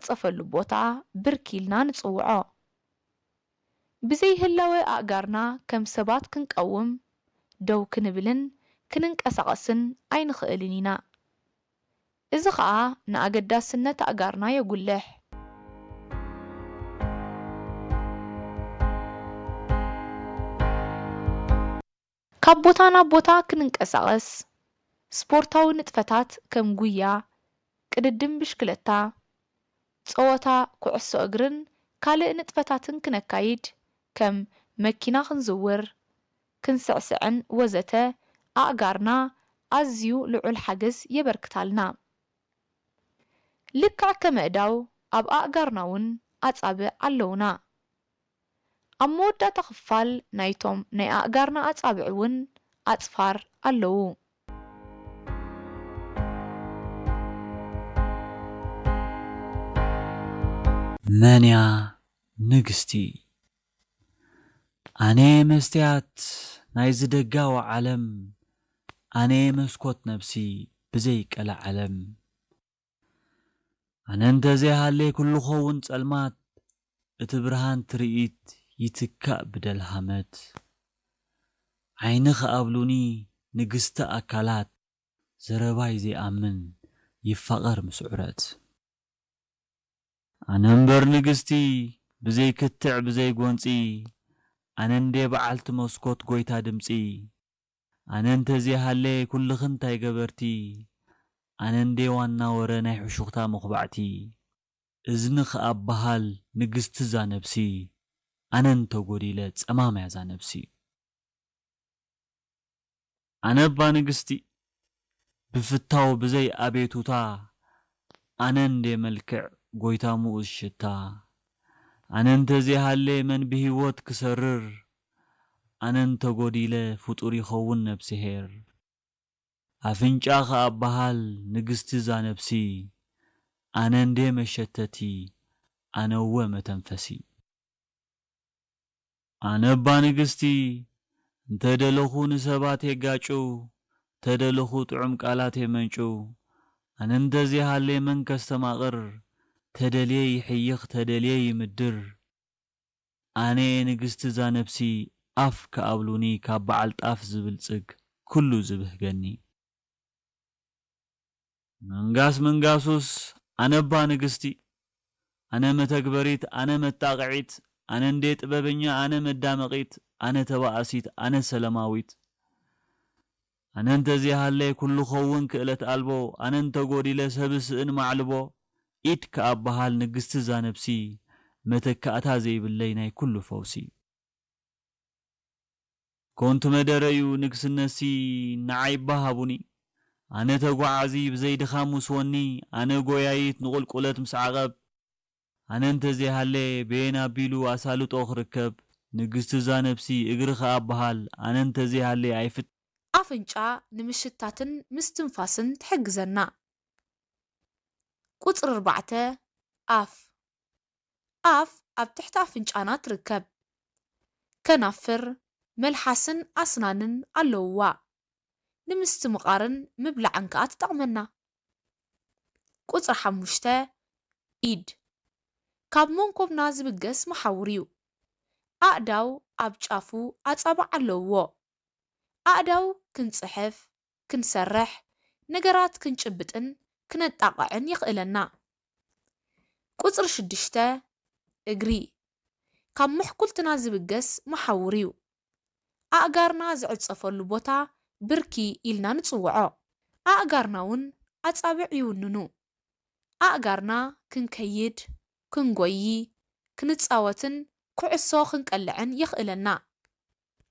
ዝዕጸፈሉ ቦታ ብርኪ ኢልና ንጽውዖ። ብዘይ ህላወ ኣእጋርና ከም ሰባት ክንቀውም፣ ደው ክንብልን ክንንቀሳቐስን ኣይንኽእልን ኢና። እዚ ኸኣ ንኣገዳስነት ኣእጋርና የጉልሕ። ካብ ቦታ ናብ ቦታ ክንንቀሳቐስ፣ ስፖርታዊ ንጥፈታት ከም ጉያ፣ ቅድድም ብሽክለታ፣ ጸወታ ኩዕሶ እግርን ካልእ ንጥፈታትን ክነካይድ፣ ከም መኪና ክንዝውር፣ ክንስዕስዕን ወዘተ ኣእጋርና ኣዝዩ ልዑል ሓገዝ የበርክታልና። ልክዕ ከም ኣእዳው ኣብ ኣእጋርና እውን ኣጻብዕ ኣለውና። ኣብ መወዳእታ ክፋል ናይቶም ናይ ኣእጋርና ኣጻብዕ እውን ኣጽፋር ኣለዉ። መንያ ንግስቲ ኣነ መስትያት ናይዚ ደጋዊ ዓለም ኣነ መስኮት ነብሲ ብዘይ ቀለ ዓለም ኣነ እንተዘይሃለይ ኩሉ ኸውን ጸልማት እቲ ብርሃን ትርኢት ይትካእ ብደልሃመት ዓይኒ ክኣብሉኒ ንግስቲ ኣካላት ዘረባይ ዘይኣምን ይፋቐር ምስ ዑረት ኣነ እምበር ንግስቲ ብዘይ ክትዕ ብዘይ ጎንጺ ኣነ እንዴ በዓልቲ መስኮት ጎይታ ድምጺ ኣነ እንተዘይሃለ ኩልኽን እንታይ ገበርቲ ኣነ እንዴ ዋና ወረ ናይ ሕሹኽታ መኹባዕቲ እዝኒ ከኣ በሃል ንግስቲ እዛ ነብሲ ኣነ እንተጎዲለ ጸማም እያ እዛ ነብሲ ኣነ እባ ንግስቲ ብፍታው ብዘይ ኣቤቱታ ኣነ እንዴ መልክዕ ጎይታ ሙኡዝ ሽታ ኣነ እንተዘይሃሌ መን ብሂወት ክሰርር ኣነ እንተጎዲለ ፍጡር ይኸውን ነብስሄር ኣፍንጫ ከኣ በሃል ንግስቲ እዛ ነብሲ ኣነ እንዴ መሸተቲ ኣነ እወ መተንፈሲ። ኣነ እባ ንግስቲ እንተ ደለኹ ንሰባት የጋጩ፣ ተደለኹ ጥዑም ቃላት የመንጩ። ኣነ እንተዘይሃልየ መን ከስተማቕር፣ ተደልየ ይሕይኽ ተደልየ ይምድር። ኣነ'የ ንግስቲ እዛ ነብሲ ኣፍ ክኣብሉኒ ካብ በዓል ጣፍ ዝብልጽግ ኩሉ ዝብህገኒ። መንጋስ መንጋሱስ ኣነባ ንግስቲ ኣነ መተግበሪት ኣነ መጣቕዒት ኣነ እንዴ ጥበበኛ ኣነ መዳመቒት ኣነ ተባኣሲት ኣነ ሰለማዊት ኣነ እንተዘይሃለየ ኩሉ ኸውን ክእለት ኣልቦ ኣነ እንተጎዲለ ሰብ ስእን ማዕልቦ ኢድ ክኣበሃል ንግስቲ እዛ ነብሲ መተካእታ ዘይብለይ ናይ ኩሉ ፈውሲ። ኮንቱ መደረዩ ንግስነትሲ ንዓይ እባ ሃቡኒ ኣነ ተጓዓዚ ብዘይ ድኻም ውስወኒ ኣነ ጎያይት ንቑልቁለት ምስ ዓቐብ ኣነ እንተዘይሃለ በየን ኣቢሉ ኣሳልጦ ክርከብ ንግስቲ እዛ ነብሲ እግሪ ከኣ በሃል ኣነ እንተዘይሃለ ኣይፍት ኣፍንጫ ንምሽታትን ምስትንፋስን ትሕግዘና። ቁጽሪ ኣርባዕተ ኣፍ ኣፍ ኣብ ትሕቲ ኣፍንጫና ትርከብ። ከናፍር፣ መልሓስን ኣስናንን ኣለውዋ። ንምስትምቓርን ምብላዕን ከኣ ትጠቕመና። ቁጽሪ ሓሙሽተ ኢድ ካብ መንኮብና ዝብገስ መሓውር እዩ። ኣእዳው ኣብ ጫፉ ኣጻብዕ ኣለውዎ። ኣእዳው ክንጽሕፍ፣ ክንሰርሕ፣ ነገራት ክንጭብጥን ክነጣቕዕን የኽእለና። ቁጽሪ ሽዱሽተ እግሪ ካብ ምሕኩልትና ዝብገስ መሓውር እዩ። ኣእጋርና ዝዕጸፈሉ ቦታ ብርኪ ኢልና ንጽውዖ። ኣእጋርና እውን ኣጻብዕ ይውንኑ። ኣእጋርና ክንከይድ፣ ክንጎዪ፣ ክንጻወትን ኩዕሶ ክንቀልዕን የኽእለና።